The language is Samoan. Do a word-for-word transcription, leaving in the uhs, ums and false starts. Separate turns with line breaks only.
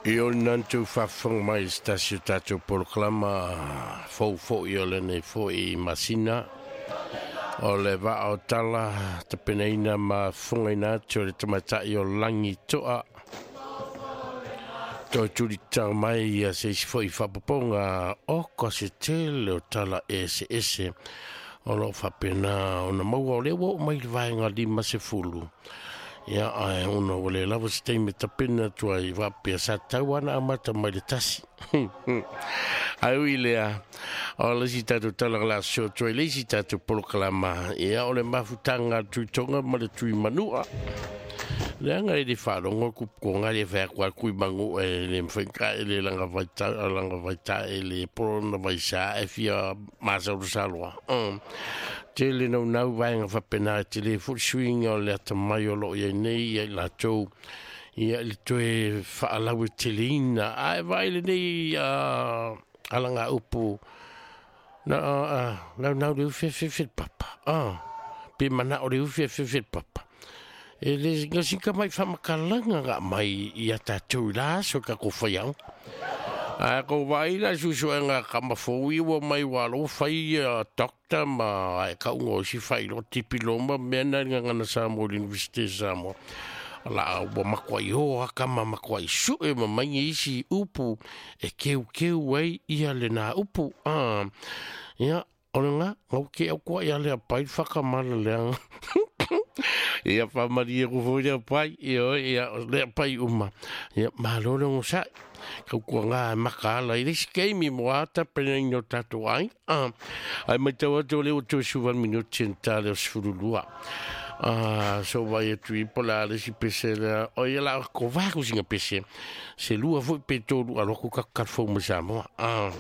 I o nantu faafofoga mai i se tasi o tatou polokalama fou fo'i o lenei fo'i masina o le vaa o tala tapenaina ma fofogaina atu o le tamaitai o lagi to'a toe tulitau mai ia se isi fo'i faapopoga o ka se tele o tala eseese o loo faapena ona maua o lea ua oo mai le vaega lima sefulu. Ia ae ona ua le lava se taimi tapena atu ai faapea sa tau ana amata mai le tasi. Ae ui lea, o le isi tatou tala la so atu ai le isi tatou polokalama, ia o le mafutaga a le Tuitoga ma le Tuimanua. Leaga e le faalogo ku konga le fai kwa kui mangu e le mfenka e le langa vaita langa vaita e le polona vaisa e fia masa o saloa. Um, te le nau nau vaenga whapena te le full swing o le ata mai o lo ia nei ia i latou ia le toe whaalau e te leina. Ae vai le nei uh, alanga upu na uh, nau nau le ufe fe fe papa. Ah, pe mana o le ufe fe fe papa. E le ngasika mai whamakalanga ngā mai i a tātou la so ka ko whai au. A ko vai la susu e ngā kama fōi ua mai walo whai a dokta ma e ka ungo si whai lo tipi loma mea na ngā ngana Samoa University Samoa. La ua makua i hoa kama makua i sue ma mai isi upu e keu keu ai ia le nā upu. Ah, ia, o le ngā, ngau ke au kua ia lea pai whakamala leanga. Ia whamari e kufo ia pai, ia ia lea pai uma. Ia malo le ngosa, kau kua ngā makaala i lesi keimi mo ata pena ino tātou ai. Ah, ai mai tau atu le o tō suvan minuti en tā leo sfurulua. Ah, so vai atu i pola le si pese lea. O ia la ko vaku singa pese. Se lua foi pe tolu aloku kakalfou ma Samoa. Ah.